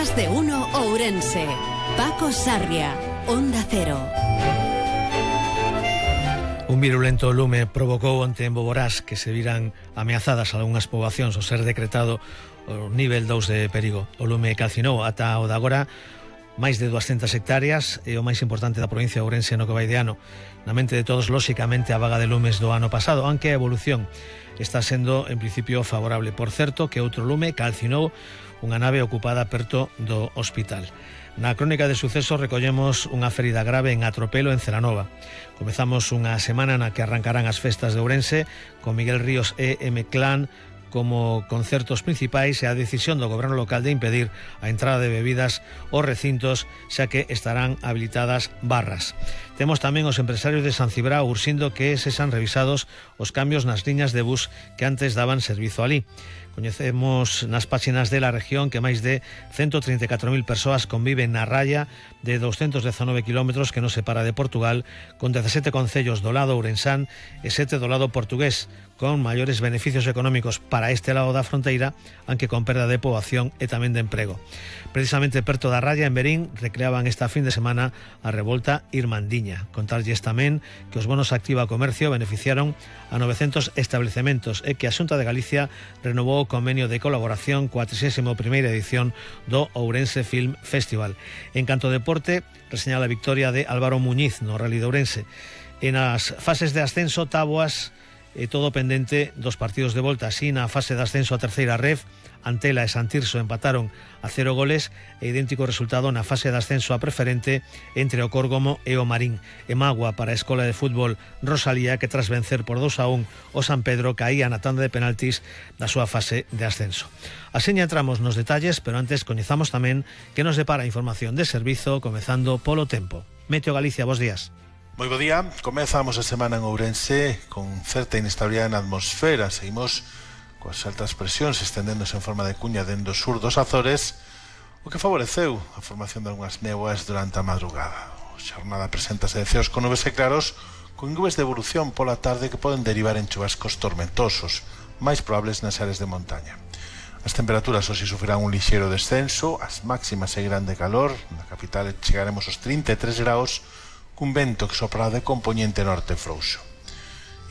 Más de uno Ourense. Paco Sarria, Onda Cero. Un virulento lume provocou onte en Boborás que se viran ameazadas algunhas poboacións ao ser decretado o nivel 2 de perigo. O lume calcinou ata o de agora máis de 200 hectáreas e o máis importante da provincia de Ourense no que vai de ano. Na mente de todos, lóxicamente, a vaga de lumes do ano pasado, aunque a evolución está sendo, en principio, favorable. Por certo, que outro lume calcinou unha nave ocupada perto do hospital. Na crónica de sucesos recollemos unha ferida grave en Atropelo, en Celanova. Comezamos unha semana na que arrancarán as festas de Ourense con Miguel Ríos e M-Clan como concertos principais e a decisión do goberno local de impedir a entrada de bebidas aos recintos, xa que estarán habilitadas barras. Temos tamén os empresarios de San Cibrao urxindo que sexan revisados os cambios nas liñas de bus que antes daban servizo alí. Coñecemos nas páxinas de La Región que máis de 134.000 persoas conviven na raya de 219 kilómetros que nos separa de Portugal, con 17 concellos do lado ourensán e 7 do lado portugués, con maiores beneficios económicos para este lado da fronteira, aunque con perda de poboación e tamén de emprego. Precisamente perto da raya, en Berín, recreaban esta fin de semana a revolta irmandiña. Contarlles tamén que os bonos Activa Comercio beneficiaron a 900 establecementos e que a Xunta de Galicia renovou o convenio de colaboración coa 31ª edición do Ourense Film Festival. En canto a deporte, reseña a victoria de Álvaro Muñiz no Rally de Ourense. En as fases de ascenso, táboas e todo pendente dos partidos de volta. Así, na fase de ascenso a terceira ref, Antela e Santirso empataron a 0 goles e idéntico resultado na fase de ascenso a preferente entre o Córgomo e o Marín. E mágoa para a Escola de Fútbol Rosalía, que tras vencer por 2-1 o San Pedro caía na tanda de penaltis da súa fase de ascenso. Así entramos nos detalles, pero antes coñezamos tamén que nos depara a información de servizo, comezando polo tempo. Meteo Galicia, bos días. Moi bo día, comezamos a semana en Ourense con certa inestabilidade na atmosfera. Seguimos coas altas presións estendéndose en forma de cuña dende o sur dos Azores, o que favoreceu a formación de algunhas néboas durante a madrugada. A xornada preséntase de ceos con nubes e claros, con nubes de evolución pola tarde que poden derivar en chuvascos tormentosos, máis probables nas áreas de montaña. As temperaturas hoxe sufrirán un lixeiro descenso, as máximas seguirán de calor, na capital chegaremos aos 33 graus, cun vento que soprará de compoñente norte frouxo.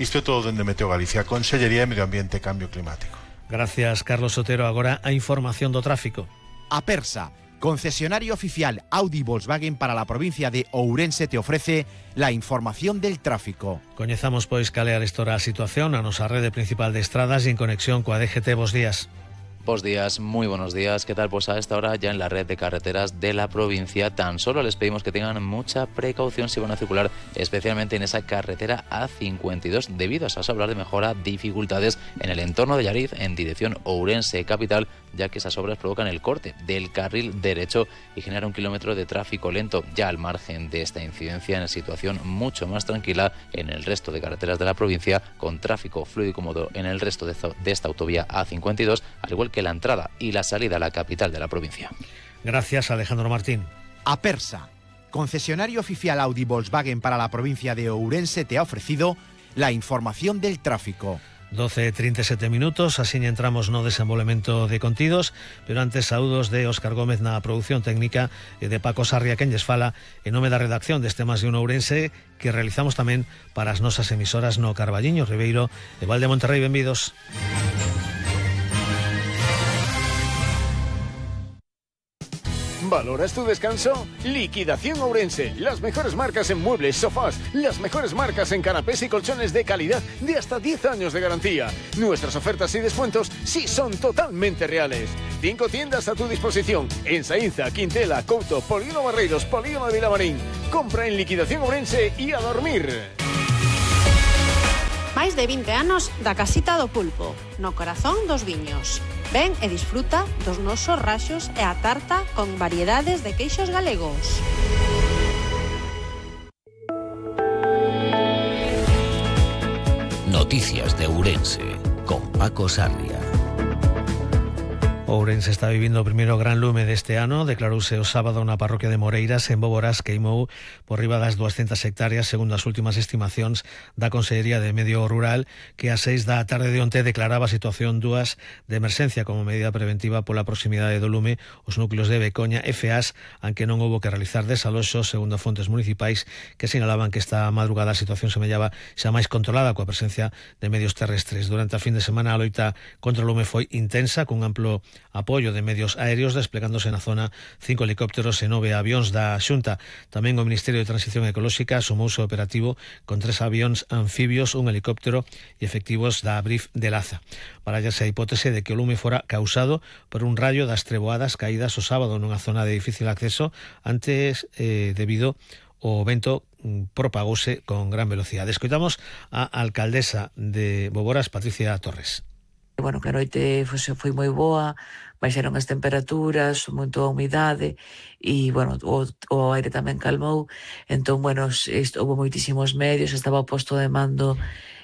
Isto é todo dende Meteo Galicia, Consellería de Medio Ambiente e Cambio Climático. Gracias, Carlos Sotero. Agora a información do tráfico. Apersa, concesionario oficial Audi Volkswagen para la provincia de Ourense, te ofrece la información del tráfico. Coñezamos pois cal é a situación na nosa rede principal de estradas e en conexión coa DGT. Bos días. Buenos días, muy buenos días. ¿Qué tal? Pues a esta hora ya en la red de carreteras de la provincia tan solo les pedimos que tengan mucha precaución si van a circular, especialmente en esa carretera A52, debido a esas obras de mejora, dificultades en el entorno de Llariz en dirección Ourense capital, ya que esas obras provocan el corte del carril derecho y generan 1 kilómetro de tráfico lento. Ya al margen de esta incidencia, en situación mucho más tranquila en el resto de carreteras de la provincia, con tráfico fluido y cómodo en el resto de esta autovía A52, al igual que la entrada y la salida a la capital de la provincia. Gracias, Alejandro Martín. Apersa, concesionario oficial Audi Volkswagen para la provincia de Ourense, te ha ofrecido la información del tráfico. 12:37 minutos, así entramos no desenvolvemento de contidos, pero antes saúdos de Óscar Gómez na produción técnica e de Paco Sarria, quen lles fala en nome da redacción deste Más de un Ourense, que realizamos tamén para as nosas emisoras no Carballiño, Ribeiro e Val de Monterrey. Benvidos. ¿Valoras tu descanso? Liquidación Ourense. Las mejores marcas en muebles, sofás, las mejores marcas en canapés y colchones de calidad de hasta 10 años de garantía. Nuestras ofertas y descuentos sí son totalmente reales. 5 tiendas a tu disposición en Saínza, Quintela, Couto, Polígono Barreiros, Polígono de Vilamarín. Compra en Liquidación Ourense y a dormir. Máis de 20 anos da Casita do Pulpo, no corazón dos viños. Ven e disfruta dos nosos raxos e a tarta con variedades de queixos galegos. Noticias de Ourense, con Paco Sarria. Ourense está vivindo o primeiro gran lume deste ano. Declarouse o sábado na parroquia de Moreiras, en Boborás, queimou por riba das 200 hectáreas, segundo as últimas estimacións da Consellería de Medio Rural, que a 6 da tarde de onte declaraba a situación 2 de emerxencia como medida preventiva pola proximidade do lume. Os núcleos de Becoña e Feás, aunque non houbo que realizar desaloxos, segundo fontes municipais que sinalaban que esta madrugada a situación semellaba xa máis controlada coa presencia de medios terrestres. Durante a fin de semana a loita contra o lume foi intensa, cun amplo apoio de medios aéreos, desplegándose na zona 5 helicópteros e 9 avións da Xunta. Tamén o Ministerio de Transición Ecolóxica sumouse operativo con 3 avións anfibios, un helicóptero e efectivos da Brif de Laza. Barállase a hipótese de que o lume fora causado por un rayo das treboadas caídas o sábado nunha zona de difícil acceso, antes debido o vento propagouse con gran velocidade. Escoitamos a alcaldesa de Boborás, Patricia Torres. Bueno, que a noite foi moi boa, baixaron as temperaturas, moito a humidade e, bueno, o aire tamén calmou. Entón, bueno, houve moitísimos medios, estaba o posto de mando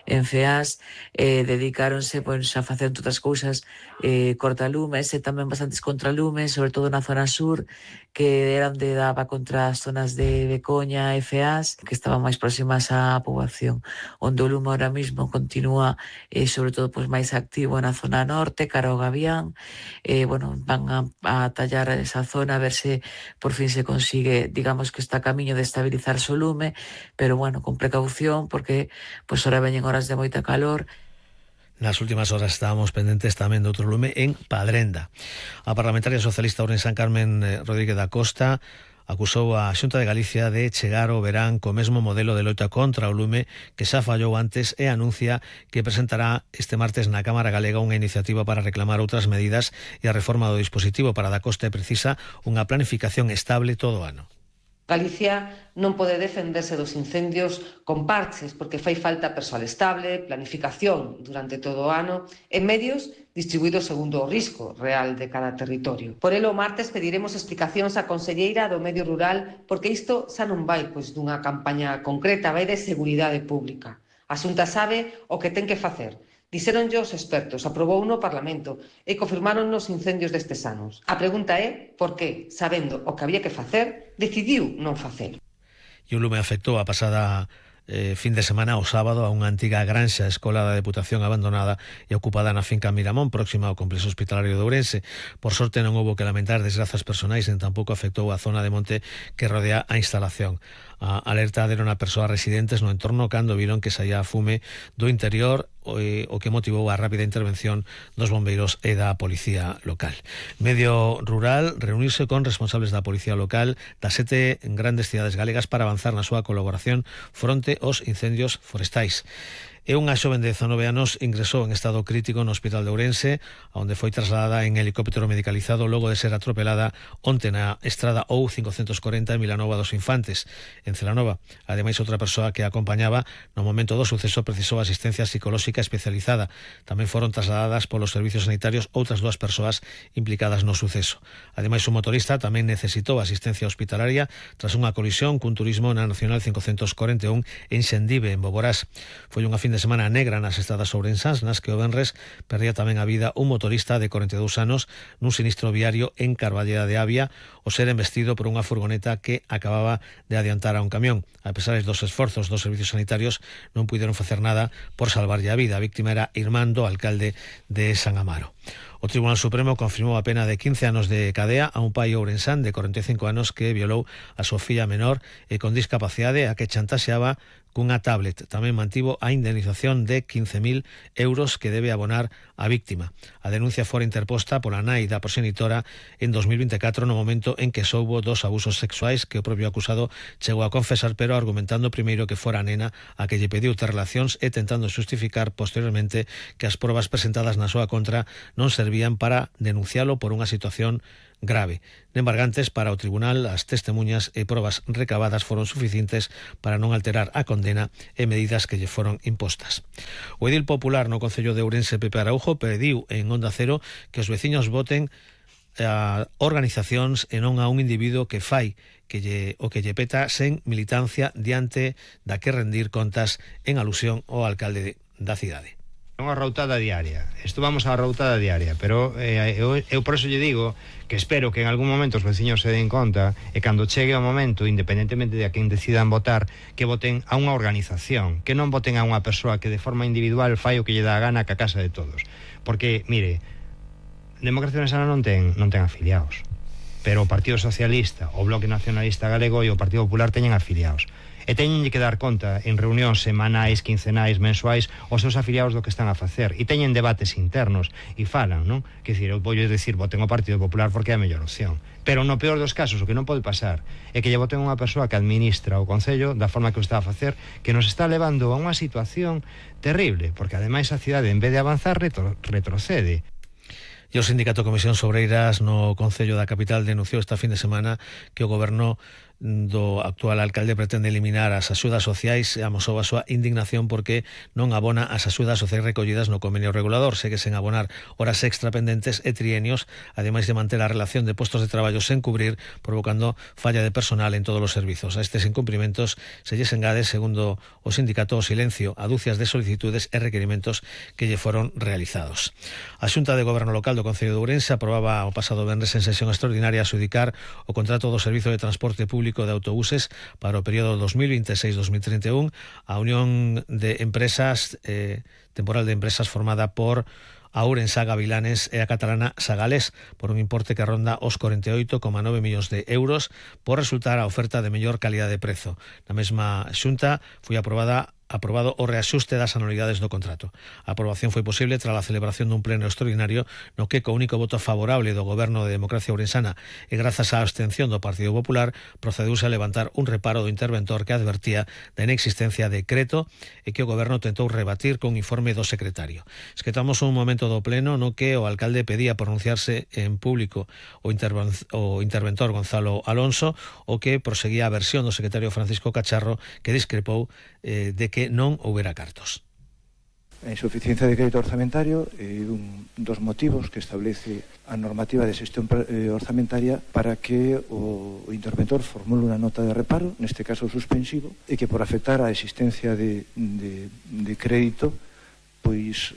en Feás, dedicáronse pois, a facer outras cousas, cortalumes e tamén bastantes contralumes, sobre todo na zona sur, que era onde daba contra as zonas de Becoña e Feás, que estaban máis próximas á poboación. Onde o lume ahora mismo continúa, sobre todo, pois, máis activo na zona norte, cara ao Gavián. Bueno, van a tallar esa zona a ver se por fin se consigue, digamos que está a camiño de estabilizarse o lume, pero bueno, con precaución, porque pois ahora veñen horas de moita calor. Nas últimas horas estábamos pendentes tamén de outro lume en Padrenda. A parlamentaria socialista ourensán Carmen Rodríguez da Costa acusou a Xunta de Galicia de chegar ao verán co mesmo modelo de loita contra o lume que xa fallou antes e anuncia que presentará este martes na Cámara Galega unha iniciativa para reclamar outras medidas e a reforma do dispositivo. Para da Costa precisa unha planificación estable todo o ano. Galicia non pode defenderse dos incendios con parches porque fai falta persoal estable, planificación durante todo o ano e medios distribuídos segundo o risco real de cada territorio. Por elo, o martes pediremos explicacións á conselleira do Medio Rural porque isto xa non vai dunha campaña concreta, vai de seguridade pública. A Xunta sabe o que ten que facer. Dixéronlle os expertos, aprobou no Parlamento e confirmaron nos incendios destes anos. A pregunta é por que, sabendo o que había que facer, decidiu non facer. E o lume afectou a pasada fin de semana o sábado a unha antiga granxa escola da Deputación abandonada e ocupada na finca Miramón, próxima ao complexo hospitalario de Ourense. Por sorte non houbo que lamentar desgrazas personais, nen tampouco afectou a zona de monte que rodea a instalación. A alerta deron a persoas residentes no entorno cando viron que saía fume do interior, o que motivou a rápida intervención dos bombeiros e da policía local. Medio Rural reunirse con responsables da policía local das 7 grandes cidades galegas para avanzar na súa colaboración fronte aos incendios forestais. E unha xoven de 19 anos ingresou en estado crítico no Hospital de Ourense, onde foi trasladada en helicóptero medicalizado logo de ser atropelada onte na estrada OU540 en Vilanova dos Infantes, en Celanova. Ademais, outra persoa que a acompañaba no momento do suceso precisou asistencia psicolóxica especializada. Tamén foron trasladadas polos servicios sanitarios outras 2 persoas implicadas no suceso. Ademais, o motorista tamén necesitou asistencia hospitalaria tras unha colisión cun turismo na Nacional 541 en Xendive, en Boborás. Foi unha fin de semana negra nas estradas ourensás, nas que o venres perdía tamén a vida un motorista de 42 anos nun sinistro viario en Carballeda de Avia ao ser embestido por unha furgoneta que acababa de adiantar a un camión. A pesar dos esforzos dos servicios sanitarios, non puideron facer nada por salvarlle a vida. A víctima era irmán do alcalde de San Amaro. O Tribunal Supremo confirmou a pena de 15 anos de cadea a un pai ourensán de 45 anos que violou a súa filla menor e con discapacidade a que chantaxeaba cunha tablet. Tamén mantivo a indemnización de 15.000 euros que debe abonar a víctima. A denuncia fora interposta pola nai da progenitora en 2024 no momento en que soubo dos abusos sexuais que o propio acusado chegou a confesar, pero argumentando primeiro que fora a nena a que lle pediu ter relacións e tentando xustificar posteriormente que as probas presentadas na súa contra non servían para denuncialo por unha situación grave. Nembargantes, para o tribunal, as testemunhas e probas recabadas foron suficientes para non alterar a condena e medidas que lle foron impostas. O edil popular no Concello de Ourense, Pepe Araujo, pediu en Onda Cero que os veciños voten a organizacións e non a un individuo que fai o que lle peta sen militancia diante da que rendir contas, en alusión ao alcalde da cidade. Unha routada diaria. Isto vamos á routada diaria, pero eu por eso lle digo que espero que en algún momento os veciños se den conta e cando chegue o momento, independentemente de a quen decidan votar, que voten a unha organización, que non voten a unha persoa que de forma individual fai o que lle dá a gana que a casa de todos. Porque, mire, Democracia Ourensana non ten afiliados, pero o Partido Socialista, o Bloque Nacionalista Galego e o Partido Popular teñen afiliados. E teñenlle que dar conta en reunións semanais, quincenais, mensuais aos seus afiliados do que están a facer, e teñen debates internos e falan, non? Que dicir, eu vou decir, voten o Partido Popular porque é a mellor opción, pero no peor dos casos o que non pode pasar é que lle voten unha persoa que administra o Concello da forma que o está a facer, que nos está levando a unha situación terrible, porque ademais a cidade en vez de avanzar retrocede. E o Sindicato Comisións Obreiras no Concello da capital denunciou esta fin de semana que o goberno do actual alcalde pretende eliminar as axudas sociais e amosou a súa indignación porque non abona as axudas sociais recollidas no convenio regulador, segue sen abonar horas extra pendentes e trienios, ademais de manter a relación de postos de traballo sen cubrir, provocando falla de personal en todos os servizos. A estes incumprimentos se lles engade, segundo o sindicato, o silencio a dúcias de solicitudes e requerimentos que lle foron realizados. A Xunta de Goberno Local do Concello de Ourense aprobaba o pasado venres en sesión extraordinaria adxudicar o contrato do Servizo de Transporte Público de Autobuses para o período 2026-2031 a Unión de Empresas Temporal de Empresas formada por a Ourensa Gavilanes e a catalana Sagales por un importe que ronda os 48,9 millóns de euros por resultar a oferta de mellor calidade de prezo. Na mesma xunta foi aprobado o reaxuste das anualidades do contrato. A aprobación foi posible tras a celebración dun pleno extraordinario no que co único voto favorable do Goberno de Democracia Ourensana e grazas á abstención do Partido Popular procedeuse a levantar un reparo do interventor que advertía da inexistencia de decreto e que o Goberno tentou rebatir con informe do secretario. Esquetamos un momento do pleno no que o alcalde pedía pronunciarse en público o interventor Gonzalo Alonso, o que proseguía a versión do secretario Francisco Cacharro, que discrepou de que non houbera cartos. A insuficiencia de crédito orzamentario é un dos motivos que establece a normativa de xestión orzamentaria para que o interventor formule unha nota de reparo, neste caso suspensivo, e que por afectar a existencia de crédito, pois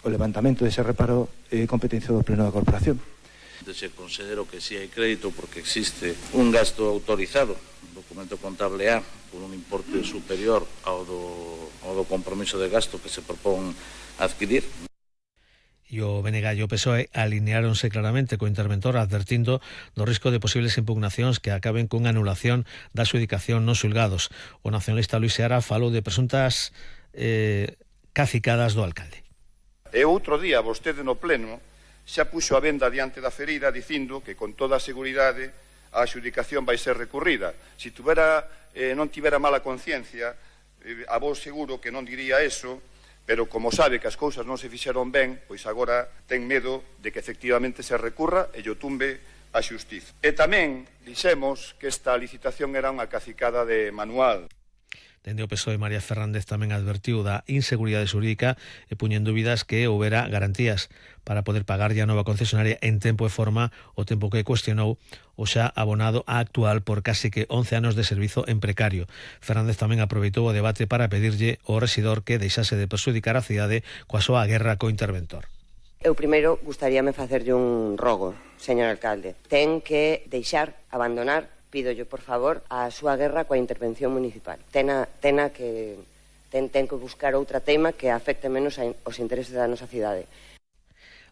o levantamento dese reparo é competencia do Pleno da Corporación. Se considero que si hai crédito porque existe un gasto autorizado, documento contable A, por un importe superior ao do compromiso de gasto que se propón adquirir. E o BNG e o PSOE alineáronse claramente co interventor advertindo do risco de posibles impugnacións que acaben cunha anulación da adxudicación nos xulgados. O nacionalista Luis Seara falou de presuntas cacicadas do alcalde. E outro día vostede no pleno xa puxo a venda diante da ferida dicindo que con toda a seguridade a adxudicación vai ser recurrida. Se non tivera mala conciencia, a vos seguro que non diría eso, pero como sabe que as cousas non se fixeron ben, pois agora ten medo de que efectivamente se recurra e lle tumbe a xustiza. E tamén dixemos que esta licitación era unha cacicada de manual. Dende o PSOE, María Fernández tamén advertiu da inseguridade xurídica e puñen dúbidas que houbera garantías para poder pagar a nova concesionaria en tempo e forma, o tempo que cuestionou o xa abonado a actual por casi que 11 anos de servizo en precario. Fernández tamén aproveitou o debate para pedirlle ao rexidor que deixase de perxudicar a cidade coa súa guerra co interventor. Eu primeiro gustaríame facerlle un rogo, señor alcalde. Ten que abandonar, pídollo por favor, a súa guerra coa intervención municipal. Ten que buscar outra tema que afecte menos aos intereses da nosa cidade.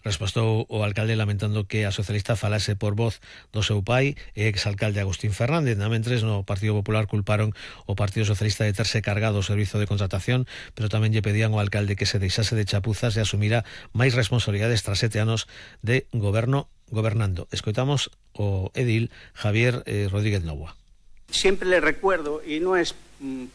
Respostou o alcalde lamentando que a socialista falase por voz do seu pai e exalcalde Agustín Fernández. Mentres no Partido Popular culparon o Partido Socialista de terse cargado o servizo de contratación, pero tamén lle pedían ao alcalde que se deixase de chapuzas e asumira máis responsabilidades tras 7 anos de gobernando. Escoitamos o edil Javier Rodríguez Novoa. Siempre le recuerdo, y no es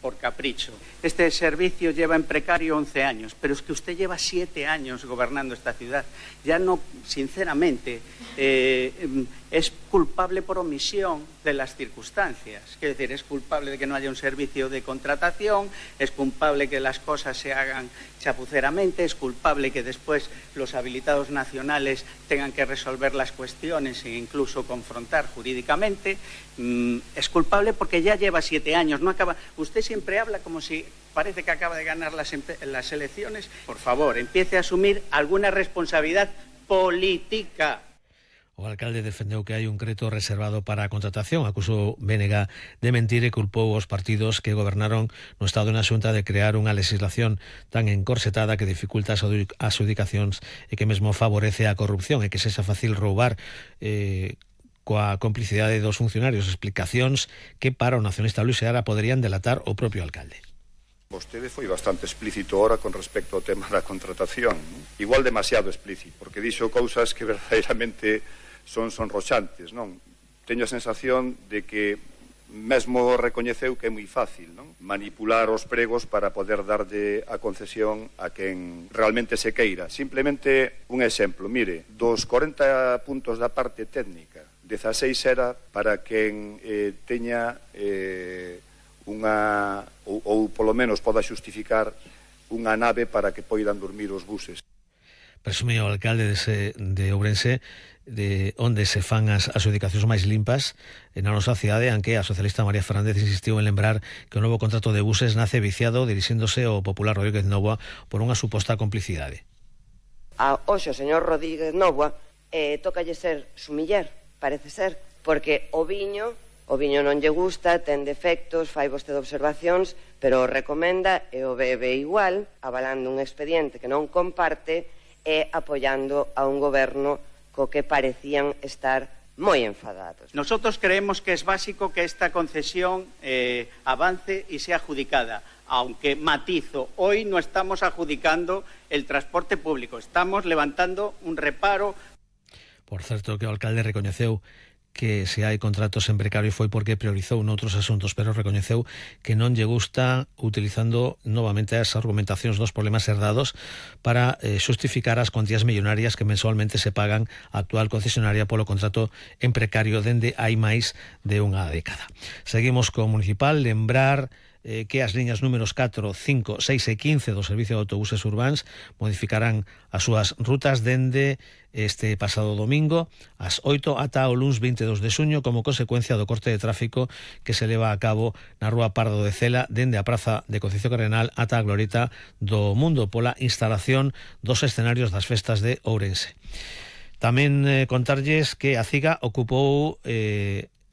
por capricho, este servicio lleva en precario 11 años, pero es que usted lleva 7 años gobernando esta ciudad. Ya no, sinceramente, es culpable por omisión de las circunstancias. Quiero decir, es culpable de que no haya un servicio de contratación, es culpable que las cosas se hagan chapuceramente, es culpable que después los habilitados nacionales tengan que resolver las cuestiones e incluso confrontar jurídicamente. Es culpable porque ya lleva 7 años, no acaba. Usted siempre habla como si parece que acaba de ganar las elecciones. Por favor, empiece a asumir alguna responsabilidad política. O alcalde defendeu que hai un creto reservado para a contratación, acusou BNG de mentir e culpou os partidos que gobernaron no Estado na Xunta de crear unha legislación tan encorsetada que dificulta as adjudicacións e que mesmo favorece a corrupción e que sexa fácil roubar coa complicidade dos funcionarios, explicacións que para o nacionalista Luis Seara poderían delatar o propio alcalde. Vostede foi bastante explícito ahora con respecto ao tema da contratación, non? Igual demasiado explícito, porque dixo cousas que verdadeiramente son sonroxantes, non? Teño a sensación de que mesmo recoñeceu que é moi fácil, non? Manipular os pregos para poder darlle a concesión a quen realmente se queira. Simplemente un exemplo, mire, dos 40 puntos da parte técnica, 16 era para quen teña unha, ou polo menos poda xustificar unha nave para que poidan dormir os buses. Presume o alcalde de Ourense de onde se fan as adjudicacións máis limpas na nosa cidade, aunque a socialista María Fernández insistiu en lembrar que o novo contrato de buses nace viciado dirixíndose ao popular Rodríguez Novoa por unha suposta complicidade. Oxo, señor Rodríguez Novoa, tócalle ser sumiller, parece ser, porque o viño non lle gusta, ten defectos, fai vostede observacións, pero o recomenda e o bebe igual, avalando un expediente que non comparte e apoiando a un goberno co que parecían estar moi enfadados. Nosotros creemos que es básico que esta concesión avance y sea adjudicada, aunque matizo, hoy no estamos adjudicando el transporte público, estamos levantando un reparo. Por certo, que o alcalde recoñeceu que se hai contratos en precario foi porque priorizou noutros asuntos, pero recoñeceu que non lle gusta utilizando novamente as argumentacións dos problemas herdados para xustificar as cuantías millonarias que mensualmente se pagan a actual concesionaria polo contrato en precario dende hai máis de unha década. Seguimos co municipal, lembrar que as liñas números 4, 5, 6 e 15 do Servicio de Autobuses Urbáns modificarán as súas rutas dende este pasado domingo ás 8 ata o luns 22 de xuño como consecuencia do corte de tráfico que se leva a cabo na Rúa Pardo de Cela dende a Praza de Concepción Cardenal ata a Glorieta do Mundo pola instalación dos escenarios das festas de Ourense. Tamén contarlles que a CIGA ocupou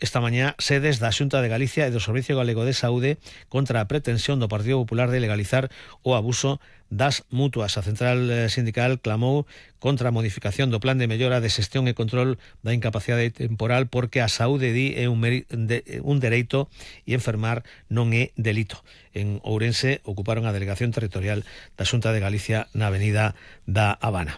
esta mañá sedes da Xunta de Galicia e do Servicio Galego de Saúde contra a pretensión do Partido Popular de legalizar o abuso das mutuas. A central sindical clamou contra a modificación do plan de mellora de xestión e control da incapacidade temporal porque a saúde é un dereito e enfermar non é delito. En Ourense ocuparon a delegación territorial da Xunta de Galicia na avenida da Habana.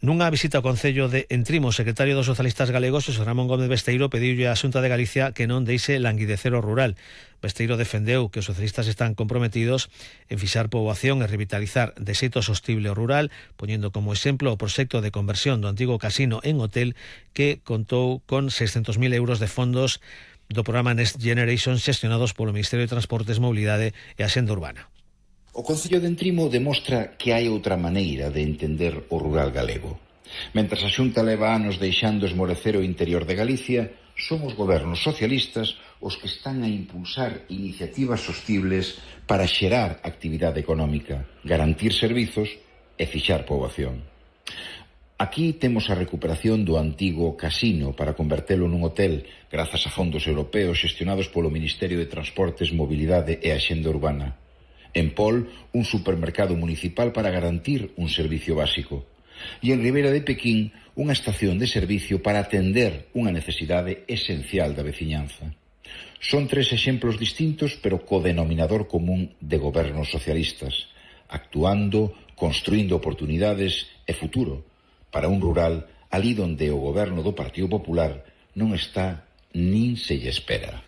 Nunha visita ao Concello de Entrimo, o secretario dos socialistas galegos, Xosé Ramón Gómez Besteiro, pediulle á Xunta de Galicia que non deixe languidecer o rural. Besteiro defendeu que os socialistas están comprometidos en fixar poboación e revitalizar de xeito sostible o rural, poñendo como exemplo o proxecto de conversión do antigo casino en hotel que contou con 600.000 euros de fondos do programa Next Generation xestionados polo Ministerio de Transportes, Mobilidade e Axenda Urbana. O Concello de Entrimo demostra que hai outra maneira de entender o rural galego. Mentras a Xunta leva anos deixando esmorecer o interior de Galicia, son os gobernos socialistas os que están a impulsar iniciativas sostibles para xerar actividade económica, garantir servizos e fixar poboación. Aquí temos a recuperación do antigo casino para convertelo nun hotel grazas a fondos europeos xestionados polo Ministerio de Transportes, Mobilidade e Axenda Urbana. En Pol, un supermercado municipal para garantir un servicio básico. E en Ribeira de Pequín, unha estación de servicio para atender unha necesidade esencial da veciñanza. Son tres exemplos distintos, pero co denominador común de gobernos socialistas, actuando, construindo oportunidades e futuro para un rural ali donde o goberno do Partido Popular non está nin se lle espera.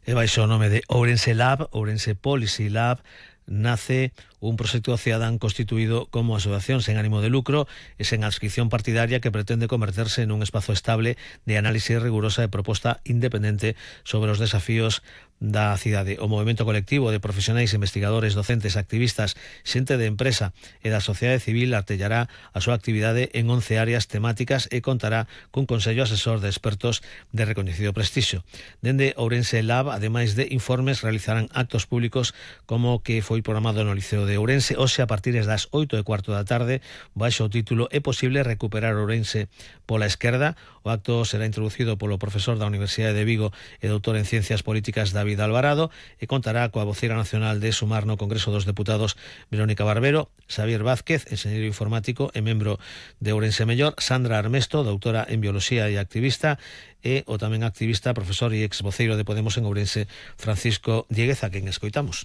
E baixo o nome de Ourense Lab, Ourense Policy Lab, nace un proxecto cidadán constituído como asociación sen ánimo de lucro e sen adscripción partidaria que pretende converterse nun espazo estable de análise rigurosa e proposta independente sobre os desafíos da cidade. O movimento colectivo de profesionais, investigadores, docentes, activistas, xente de empresa e da sociedade civil artellará a súa actividade en 11 áreas temáticas e contará cun consello asesor de expertos de recoñecido prestixio. Dende Ourense Lab, ademais de informes, realizarán actos públicos como que foi programado no Liceo de Ourense hoxe a partir das 8:15 da tarde, baixo o título "É posible recuperar Ourense pola esquerda". O acto será introducido polo profesor da Universidade de Vigo e doutor en Ciencias Políticas David Alvarado e contará coa voceira nacional de Sumar no Congreso dos Deputados Verónica Barbero, Xavier Vázquez, enxeñeiro informático e membro de Ourense Mellor, Sandra Armesto, doutora en Bioloxía e activista, e o tamén activista, profesor e ex voceiro de Podemos en Ourense, Francisco Dieguez, a quen escoitamos.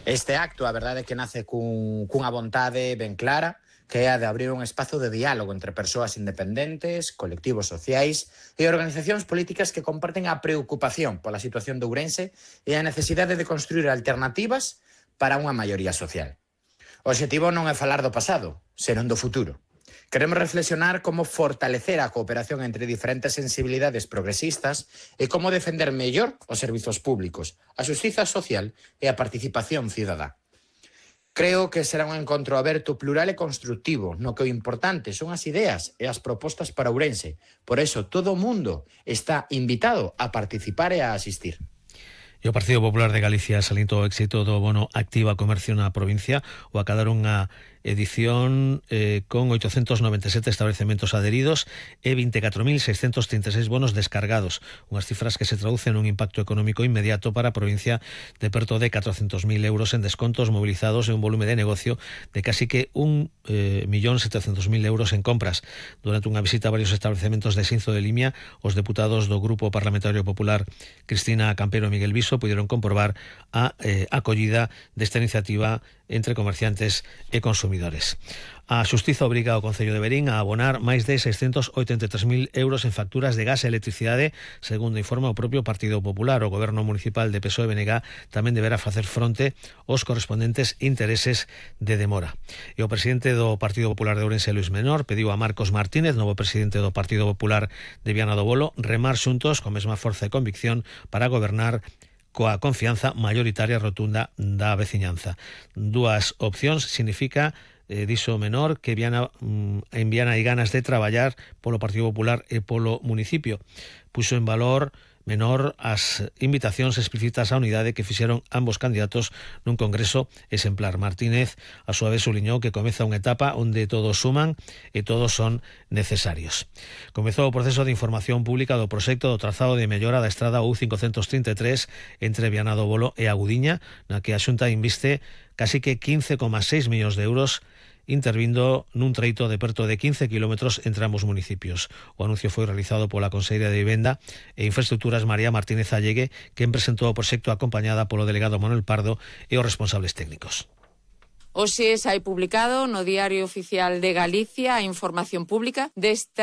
Este acto, a verdade é que nace cunha vontade ben clara, que é a de abrir un espazo de diálogo entre persoas independentes, colectivos sociais e organizacións políticas que comparten a preocupación pola situación de Ourense e a necesidade de construir alternativas para unha maioría social. O obxectivo non é falar do pasado, senón do futuro. Queremos reflexionar como fortalecer a cooperación entre diferentes sensibilidades progresistas e como defender mellor os servizos públicos, a xustiza social e a participación cidadá. Creo que será un encontro aberto, plural e constructivo, no que o importante son as ideas e as propostas para Ourense. Por eso, todo o mundo está invitado a participar e a asistir. E o Partido Popular de Galicia salientou o éxito do bono Activa Comercio na provincia o acadar unha edición con 897 establecementos adheridos e 24.636 bonos descargados, unhas cifras que se traducen nun impacto económico inmediato para a provincia de perto de 400.000 euros en descontos movilizados e un volume de negocio de casi que 1.700.000 euros en compras. Durante unha visita a varios establecementos de Xinzo de Limia, os deputados do Grupo Parlamentario Popular Cristina Campero e Miguel Viso puderon comprobar a acollida desta iniciativa entre comerciantes e consumidores. A Xustiza obriga ao Concello de Verín a abonar máis de 683.000 euros en facturas de gas e electricidade, segundo informa o propio Partido Popular. O Goberno Municipal de PSOE-BNG tamén deberá facer fronte aos correspondentes intereses de demora. E o presidente do Partido Popular de Ourense, Luis Menor, pediu a Marcos Martínez, novo presidente do Partido Popular de Viana do Bolo, remar xuntos con mesma forza e convicción para gobernar coa confianza maioritaria rotunda da veciñanza. Dúas opcións significa, dixo Menor, que en Viana hai ganas de traballar polo Partido Popular e polo municipio. Puxo en valor Menor as invitacións explícitas á unidade que fixeron ambos candidatos nun congreso exemplar. Martínez, a súa vez, subliñou que comeza unha etapa onde todos suman e todos son necesarios. Comezou o proceso de información pública do proxecto do trazado de mellora da estrada U533 entre Viana do Bolo e Agudiña, na que a Xunta inviste casi que 15,6 millóns de euros intervindo nun treito de perto de 15 kilómetros entre ambos municipios. O anuncio foi realizado pola Conselleira de Vivenda e Infraestructuras María Martínez Allegue, quen presentou o proxecto acompañada polo delegado Manuel Pardo e os responsables técnicos. Hoxe sai publicado no Diario Oficial de Galicia a información pública deste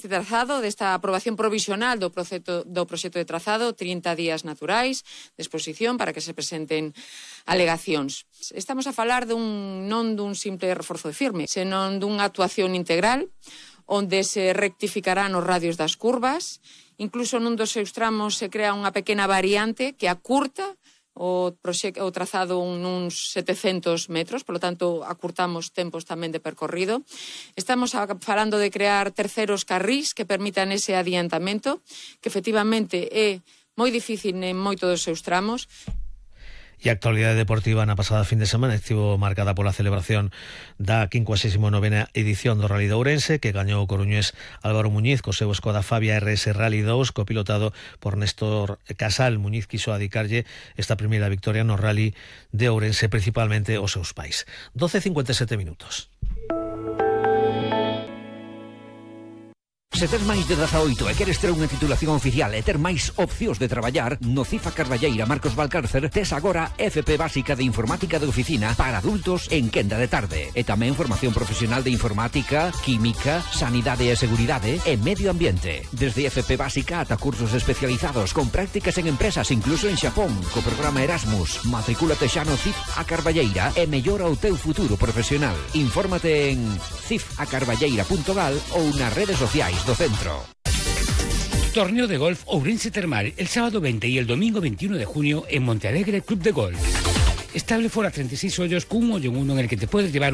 trazado, desta aprobación provisional do proxecto de trazado, 30 días naturais de exposición para que se presenten alegacións. Estamos a falar non dun simple reforzo de firme, senón dunha actuación integral onde se rectificarán os radios das curvas, incluso nun dos seus tramos se crea unha pequena variante que acurta o trazado nuns 700 metros, polo tanto, acurtamos tempos tamén de percorrido. Estamos falando de crear terceros carrís que permitan ese adiantamento, que efectivamente é moi difícil en moito dos seus tramos. E a actualidade deportiva na pasada fin de semana estivo marcada pola celebración da 59ª edición do Rally de Ourense, que gañou o coruñés Álvaro Muñiz co seu Skoda Fabia RS Rally 2, copilotado por Néstor Casal. Muñiz quiso adicarlle esta primeira victoria no Rally de Ourense, principalmente aos seus pais. 12:57 minutos. Se tes máis de 18 e queres ter unha titulación oficial e ter máis opcións de traballar, no CIF a Carballeira Marcos Valcárcer tes agora FP básica de informática de oficina para adultos en quenda de tarde. E tamén formación profesional de informática, química, sanidade e seguridade e medio ambiente. Desde FP básica ata cursos especializados con prácticas en empresas incluso en Xapón, co programa Erasmus. Matricúlate xa no CIF a Carballeira e mellora o teu futuro profesional. Infórmate en cifacarballeira.gal ou nas redes sociais do centro. Torneo de golf Ourense Termal el sábado 20 y el domingo 21 de junio en Montealegre Club de Golf. Estable fuera 36 hoyos con un hoyo en uno en el que te puedes llevar un